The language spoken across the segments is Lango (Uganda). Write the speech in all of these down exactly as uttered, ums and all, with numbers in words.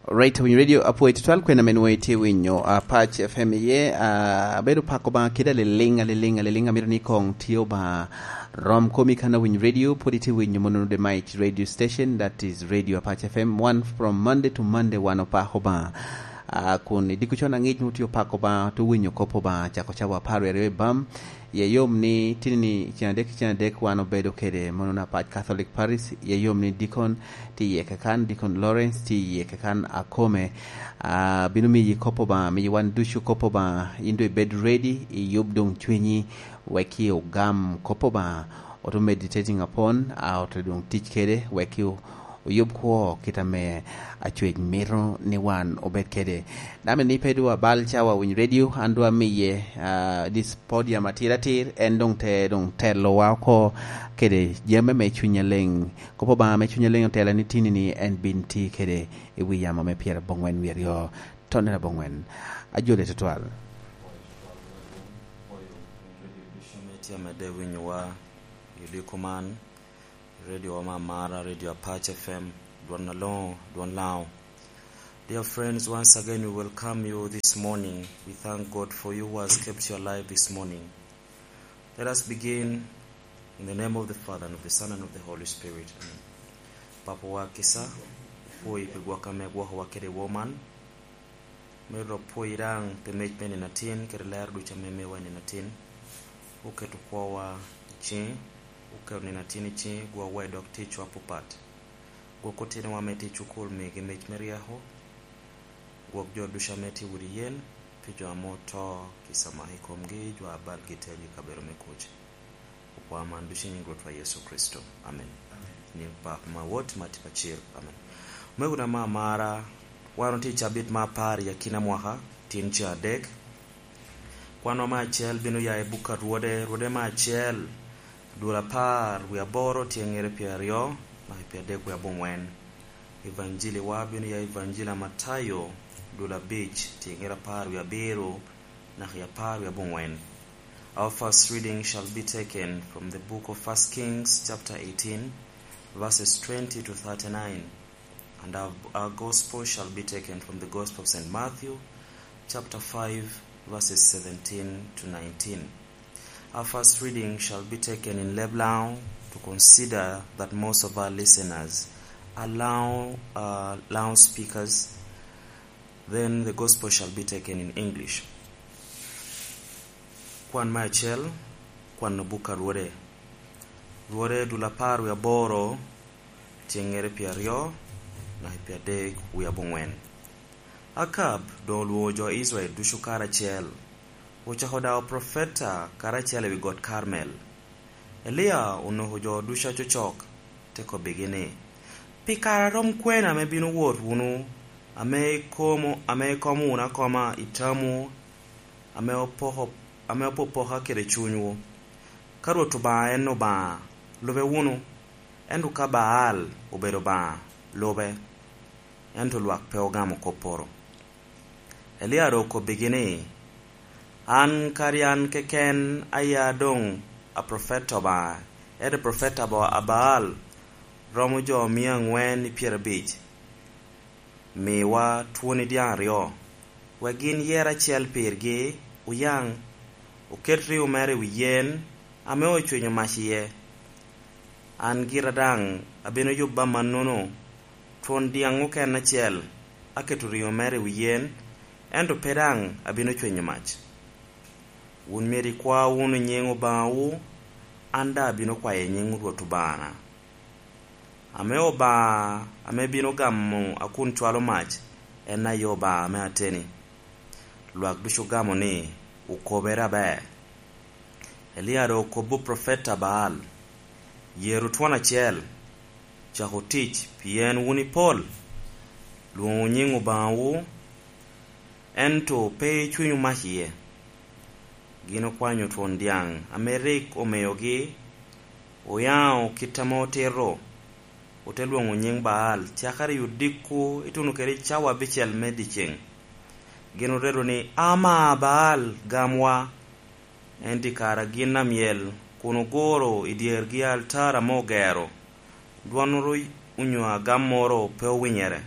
Right, Winyo Radio, apwoyo tutwal kwena men wei tye winyo, uh, Patch F M iye, uh, abedo pako ba kida liliŋ, aliliŋ, aliliŋ, amito ni kong tye ba rom komi kan Winyo Radio, pwod itye winyo mono the might radio station, that is Radio Apache F M, one from Monday to Monday, wan opako ba. Uh, kun i diko con aŋic mo tye opako ba, to winyo kopo ba, cako cawa apar aryo i bam, Ye yom ni tini ni cen adek, cen adek wan obedo kede mono na Apac Catholic Parish. Ye yom ni Deacon tye iye kakan, Deacon Lawrence tye iye kakan akome. Ah, bino miyi kop Obaŋa, miyi wan ducu kop Obaŋa, in doŋ ibed ready, iyub doŋ cwinyi, wek i ogam kop Obaŋa. Oto meditating upon, ah, oto doŋ tic kede, wek i oyub kwo kit ame Acwec mito ni wan obed kede. Dame ni pe dwa bal cawa Winyo Radio, an dwa miye, ah, this podium atir atir, en doŋ te, doŋ telowa oko kede jami me Cuny Aleŋ. Kop Obaŋa me Cuny Aleŋ otela ni tini ni en bin ti kede i wi yamo me pyera bongwen wi aryo, tonne na bongwen. Ajole tutwal. Tye amedde winyowa i odiko man. Radio wa me amara, Radio Apac F M, Dwon Aloŋo, Dwon Laŋo. Dear friends, once again we welcome you this morning. We thank God for you who has kept you alive this morning. Let us begin in the name of the Father, and of the Son, and of the Holy Spirit. Amen. Papa wa kica, opwoyi pi gwok ame igwokowa kede i wor man. Myero dok pwoyi daŋ pi mec me nino atin kede lero ducu ame imiwa i nino atin. Oketo kwowa i ciŋi, oketo nino atin i ciŋi, gwokwa i dog ticwa apapat. Gwok otinowa ame tye i cukul, migi mec me ryeko. Gwok jo ducu ame tye i udi yen, pi jo ame oto, kica mak i komgi, jo a balgi tero i kabedo me kuc. Okwa man ducu i nyiŋ Rwotwa Yecu Kricito. Amen. Amen. Nyiŋ Papa ma Wot ma tye pacil. Amen. Omego na ma amara, wan otye i cabit ma apar i akina mwaka, tin ca adek. Kwanwa me acel bino ya i buk a Rwode, Rwode me acel, dul apar wie aboro, tyeŋere pyeraryo, naka i pyeradek wie abongwen. Evanjili wa bino ya i Evanjili a Matayo, dul abic, tyeŋere apar wie abiro, naka i apar wie abongwen. Our first reading shall be taken from the book of First Kings, chapter eighteen, verses twenty to thirty-nine, and our, our gospel shall be taken from the Gospel of Saint Matthew, chapter five, verses seventeen to nineteen. Our first reading shall be taken in Leb Laŋo to consider that most of our listeners are Laŋo, uh, Laŋo speakers. Then the gospel shall be taken in English. Kwan me acel, kwan buk a Rwode. Rwode dul apar wie aboro, tyeŋere pyeraryo, naka i pyeradek wie abongwen. Akab doŋ olwoŋo jo Icrael ducu karacel, ocako dawo profeta karacel i wi got Karmel. Elia onoko jo ducu acocok, te kobbigi ni, "Pi kare a rom kwene ame bino wot wunu, ame ikomo, ame ikomo wunu akoma i tamwu, ame opoko, ame opopoka kede cunywu? Ka Rwot Obaŋa en Obaŋa, lube wunu, ento ka Baal obedo Obaŋa, lube." Ento lwak pe ogamo kopporo. Elia doŋ okobbigi ni, "An kadi an keken aya doŋ a profeta Obaŋa, ento profeta Ba-, a Baal romo jo mia aŋwen i pyerabic. Miwa twoni dyaŋ aryo, wek gin yer acel pirgi oyaŋ, oket riŋo mere i wi yen ame ocwenyo mac iye. An gira daŋ abino yubba amannono, twon dyaŋ oken acel aketo riŋo mere i wi yen, ento pe daŋ abino cwenyo mac. Wun myero ikwa wunu nyiŋ Obaŋawu, an daŋ abino kwayo i nyiŋ Rwot Obaŋana. Ame Obaŋa ame bino gamo akun cwalo mac, en aye Obaŋa ame ateni." Lwak ducu ogamo ni, "Okobere aber." Elia doŋ okobbo profeta Baal, "Yeru twon acel, cak otic, pien wun ipol, lwoŋo nyiŋ Obaŋawu, ento pe icwenyo mac iye." Gin okwanyo twon dyaŋ ame rik omeyogi, oyaŋo kit ame otito, ote lwoŋo nyiŋ Baal cakere i odiko ituno kede cawa abicel me dyeceŋ. Gin oredo ni, "Ama Baal, gamwa." Ento i kare a gin amyel, kun oguro i dyergi altar ame ogero, dwonnoro onyo agammoro pe owinyere.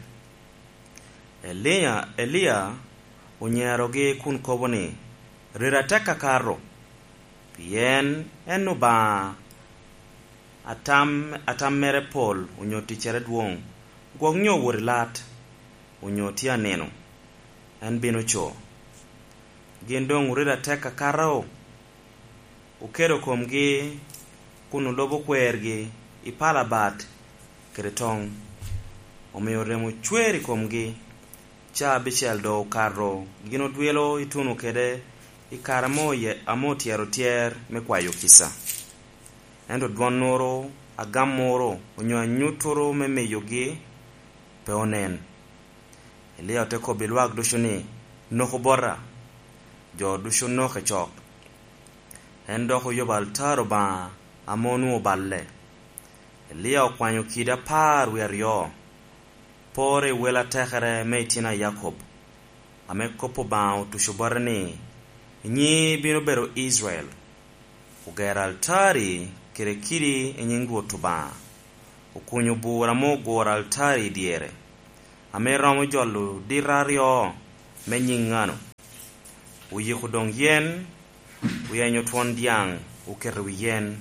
Elia, Elia onyerogi kun kobo ni, "Rira tek akato, pien en Obaŋa atam, atam mere pol onyo ticcere dwoŋ, gwok nyo owot i lat, onyo tye anino, en bino co." Gin doŋ orito atek akato, oketo komgi kun olobo kwergi i pala bat kede toŋ. Omio remo cwer i komgi. Caa abicel doŋ okato, gin odwilo ituno kede i kare ame oye-, ame otyero tyer me kwayo kica. Ento dwonnoro, agammoro, onyo anyuttoro me miyogi pe onen. Elia ote kobbi lwak ducu ni, "Noku bota." Jo ducu onoke cok. En dok oyubo altar Obaŋa ame onwoŋo oballe. Elia okwanyo kidi apar wie aryo, poro i wel atekere me itino a Yakob, ame kop Obaŋa otuco bote ni, "Nyiŋi bino bedo Icrael." Ogero altari kede kidi i nyiŋ Rwot Obaŋa. Okunyo bur ame oguro altari i dyere, ame romo jolo dito aryo me nyiŋ ŋano. Oyiko doŋ yen, oyenyo twon dyaŋ, oketo i wi yen.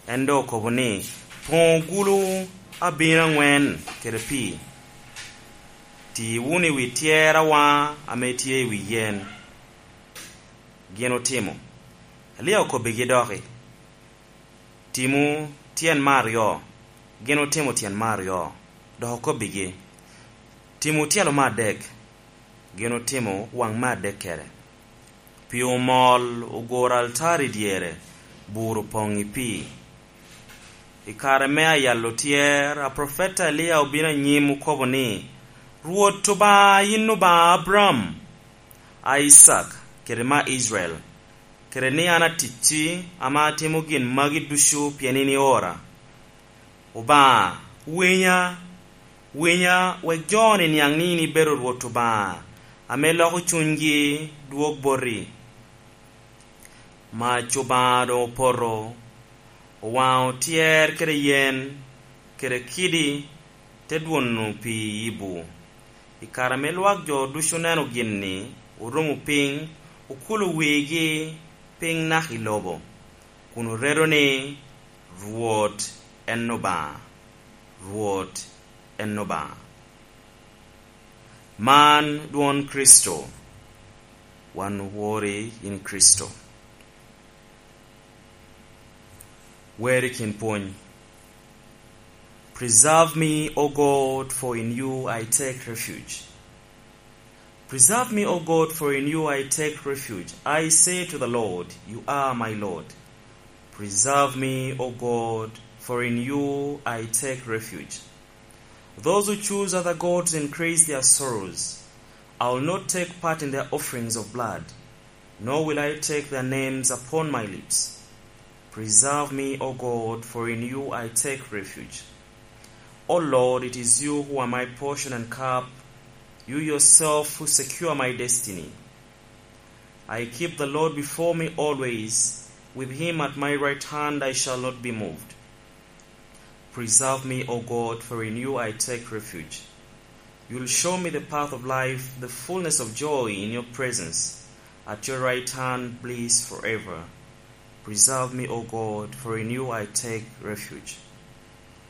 En doŋ okobo ni, "Poŋ ogulu abino aŋwen kede pii, ti wunu i wi tyer awaŋa ame tye i wi yen." Gin otimo. Elia okobbigi doki, "Timu tyen me aryo." Gin otimo tyen me aryo, dok okobbigi, "Timu tyelo me adek." Gin otimo waŋ me adekkere. Pii omol, oguro altar i dyere, bur opoŋ i pii. I kare me ayalo tyer, aprofeta Elia obino anyim okobo ni, "Rwot Obaŋa, yin Obaŋa Abraam, Icak, kede me Icrael, kede ni an aticci ame atimo gin magi ducu pien in iora. Obaŋa, winya, winya, wek jo-ni niaŋ ni in ibedo Rwot Obaŋa ame loko cunygi dwog boti." Mac Obaŋa doŋ opoto, owaŋo tyer kede yen kede kidi, te dwono pii i bur. I kare ame lwak jo ducu oneno gin-ni, orumo piny, okulo wigi piny naka i lobo, kun oredo ni, "Rwot en Obaŋa, Rwot en Obaŋa." Man dwon Kricito. Wan owori in Kricito. Wer i kin pwony. "Preserve me, O God, for in you I take refuge. Preserve me, O God, for in you I take refuge. I say to the Lord, 'You are my Lord.' Preserve me, O God, for in you I take refuge. Those who choose other gods increase their sorrows. I will not take part in their offerings of blood, nor will I take their names upon my lips. Preserve me, O God, for in you I take refuge. O Lord, it is you who are my portion and cup. You yourself who secure my destiny. I keep the Lord before me always. With him at my right hand, I shall not be moved. Preserve me, O God, for in you I take refuge. You'll show me the path of life, the fullness of joy in your presence. At your right hand, bliss forever. Preserve me, O God, for in you I take refuge."